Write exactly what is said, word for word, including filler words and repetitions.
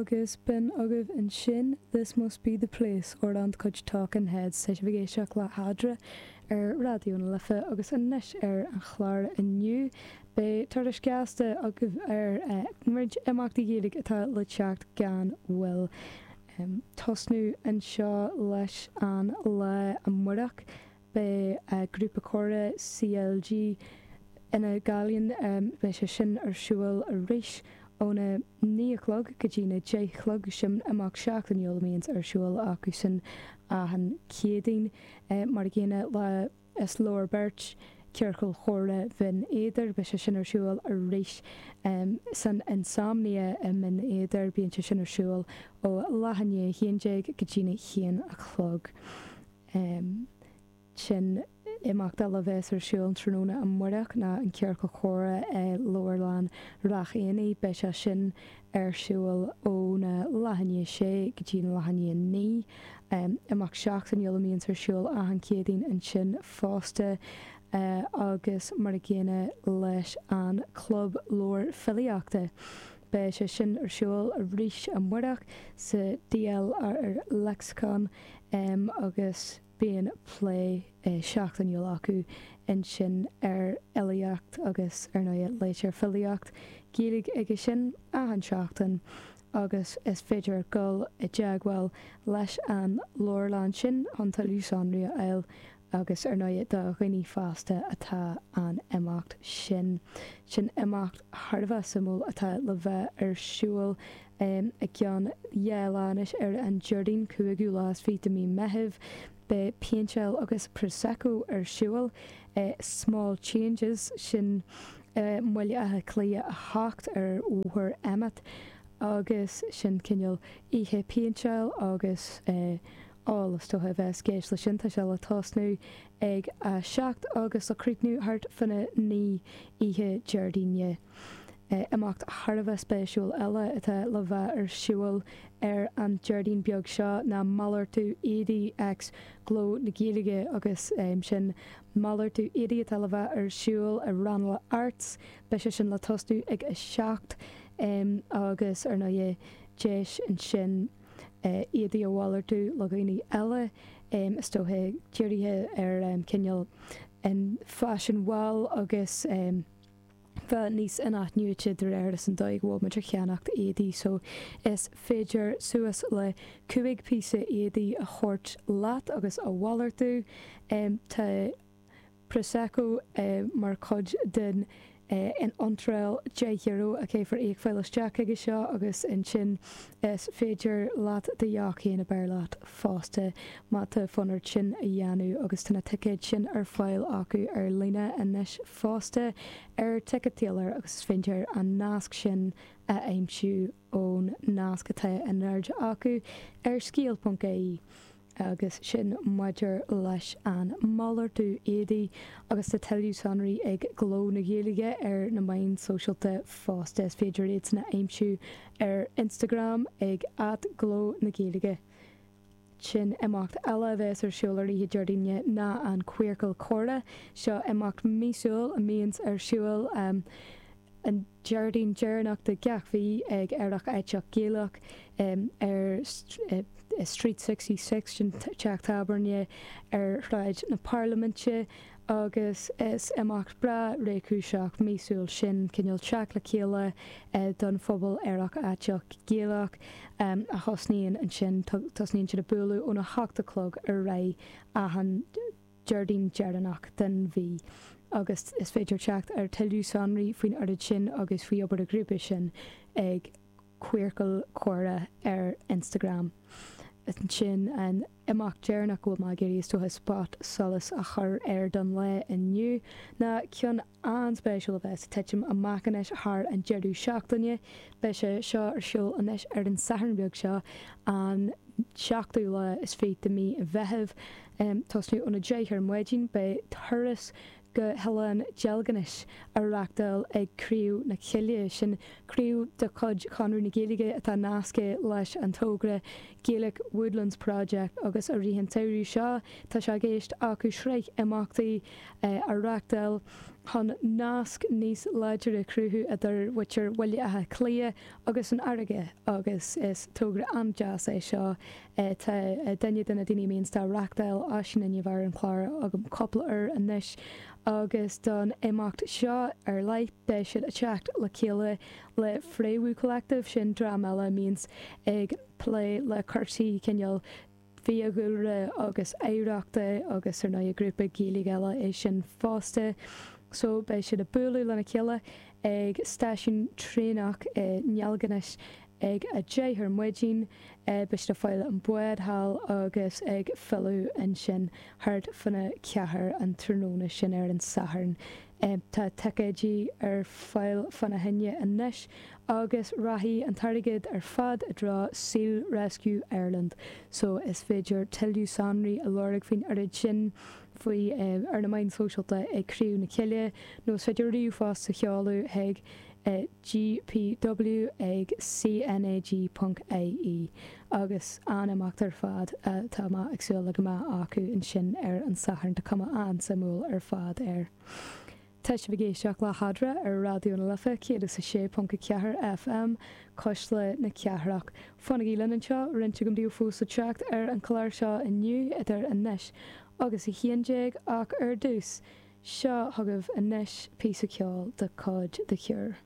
Agus b'in agaibh ansin This Must Be The Place, amhrán de chuid Talking Heads. Tá sibh ag éisteacht le hEadra ar Raidió na Life agus anois ar an chlár inniu beidh tuairisc gasta agaibh ar roinnt imeachtaí Gaeilge atá le teacht gan mhoill. Tosnú anseo leis an lá amárach. Beidh grúpa comhrá C L G ina Gaillimh, beidh sé sin ar siúl arís óna naoi a chlog go dtí na deich a chlog. Sin imeacht seachtainiúil a mbíonns ar siúl acu sin achan Chéadaoin. Mar a gcéanna le Is Leor Beirt, Ciorcal Chomhrá Bhinn Éadair, beidh sé sin ar siúl arís san Insomnia i mBinn Éadair. Bíonn sé sin ar siúl ó leath i ndiaidh a haon déag go dtí na haon a chlog. Sin imeacht eile a bheas ar siúl tráthnóna amárach ná an Ciorcal Comhrá i Leabharlann Ráth Éanaigh. Beidh sé sin ar siúl óna leath i ndiaidh sé go dtí na leath i ndiaidh naoi. Imeacht seachtainiúil a mbíonns ar siúl achan Chéadaoin ansin fosta, agus mar a gcéanna leis an Club Leabhar Filíochta. Beidh sé sin ar siúl arís amárach sa D L R Lexicon agus bíonn plé seachtainiúil acu ansin ar fhilíocht agus ar ndóigh léitear filíocht Gaeilge aige sin achan seachtain, agus is féidir dul i dteagmháil leis an leabharlann sin chun tuilleadh sonraí a fháil, agus ar ndóigh do dhaoine fásta atá an imeacht sin. Sin imeacht thar a bheith suimiúil atá le bheith ar siúl i gceann dhá lá anois, ar an Déardaoin cúigiú lá is fiche de mí Meitheamh. Beidh péinteáil agus Prosecco ar siúl i Small Changes, sin i mBaile Átha Cliath a hocht ar Bhóthar Emmet, agus sin cineál oíche péinteáil agus ól is dócha a bheas i gceist leis sin. Tá sé le tosnú ag a seacht agus le críochnú thart fána naoi oíche Déardaoine. Imeacht thar a bheith spéisiúil eile atá le bheith ar siúl ar an Déardaoin beag seo ná malartú éadaí x Gló na Gaeilge, agus sin malartú éadaí atá le bheith ar siúl i Ranelagh Arts. Beidh sé sin le tosnú ag a seacht agus ar ndóigh deis ansin éadaí a mhalartú le dhaoine eile, is dócha dírithe ar cineál an faisean mhall agus bheith níos inathnuaite de réir is an dóigh go bhfuil muid ag ceannacht éadaí. So is féidir suas le cúig píosa éadaí a thabhairt leat agus a mhalartú. Tá Prosecco mar chuid den in iontráil deich euro a chaithfear íoc fáil isteach chuige seo, agus ansin is féidir leat do dheoch féin a bheir leat fosta má tá fonn ort sin a dhéanamh, agus tá na ticéid sin ar fáil acu ar líne anois fosta ar Ticket Tailor, agus is féidir an nasc sin a aimsiú ón nasc atá in airde acu ar scéal ponc I E. Agus sin maidir leis an malartú éadaí, agus tá tuilleadh sonraí ag Gló na Gaeilge ar na meáin sóisialta fosta. Is féidir iad sin a aimsiú ar Instagram ag at Gló na Gaeilge. Sin imeacht eile a bheas ar siúl ar oíche Déardaoine ná an Queercal Comhrá. Seo imeacht míosúil a mbíonns ar siúl um, an Déardaoin deireanach de gach mhí ag Aerach Aiteach Gaelach um, ar uh, Street sixty-six, sin teach tábhairne ar Shráid na Parlaiminte, agus is imeacht breá réchúiseach míosúil sin, cineál teacht le chéile uh, don phobal aerach aiteach Gaelach um, a thosnaíonn ansin, tosnaíonn siad ag bualadh óna hocht a chlog ar aghaidh achan Déardaoin deireanach den mhí, agus is féidir teacht ar tuilleadh sonraí faoin oiread sin agus faoi obair an ghrúpa sin ag Queercal Comhrá ar Instagram. Sin an imeacht deireanach go bhfuil mé ag iarraidh is dócha spot solais a chur ar don lá inniu ná ceann an-spéisiúil a bheas ag titim amach anois thar an deireadh seachtaine. Beidh sé seo ar siúl anois ar an Satharn beag seo, an seachtú lá is fiche de mí Mheithimh. Um, tosnú óna deich ar maidin, beidh turas go hOileán Deilginis á reáchtáil ag Craobh na Cille. Sin craobh de chuid Chonradh na Gaeilge atá nasctha leis an togra Gaelic Woodlands Project, agus i rith an tsamhraidh seo tá sé i gceist acu sraith imeachtaí a reáchtáil. chun nasc níos láidre a chruthú idir mhuintir Bhaile Átha Cliath agus an fharraige agus is togra an-deas é seo. Tá duine de na daoine a mbíonns á reachtáil, Oisín, i ndiaidh a bheith ar an chlár agam cúpla uair anois agus don imeacht seo ar leith beidh siad ag teacht le chéile le Fréamhú Collective, sin dream eile a mbíonns ag plé le cúrsaí cineál fiadhúlra agus oidhreachta agus ar ndóigh grúpa Gaeilge eile é sin fosta. So beidh siad ag bualadh lena chéile ag stáisiún traenach i nDeilginis ag a deich ar maidin, beidh siad ag fáil an bád thall agus ag filleadh ansin thart fána ceathair an tráthnóna sin ar an Satharn. Tá ticéidí ar fáil fána choinne anois agus rachaidh an t-airgead ar fad i dtreo Seal Rescue Ireland so is féidir tuilleadh sonraí a lorg faoin oiread sin faoi ar na meáin shóisialta ag Craobh na Cille nó is féidir ríomhphost a sheoladh chuig gpw ag cnag ponc ie agus an-imeacht ar fad tá mé ag súil le go mbeidh acu ansin ar an Satharn tá cuma an-suimiúil ar fad air. Tá sibh ag éisteacht le hEadra ar Raidió na Life céad is a sé ponc a ceathair FM, Cuisle na Cathrach. Fanaigí linn anseo, roinnt agam daoibh fós le teacht ar an chlár seo inniu idir anois agus a haon déag ach ar dtús, seo chugaibh anois píosa ceoil de chuid The Cure.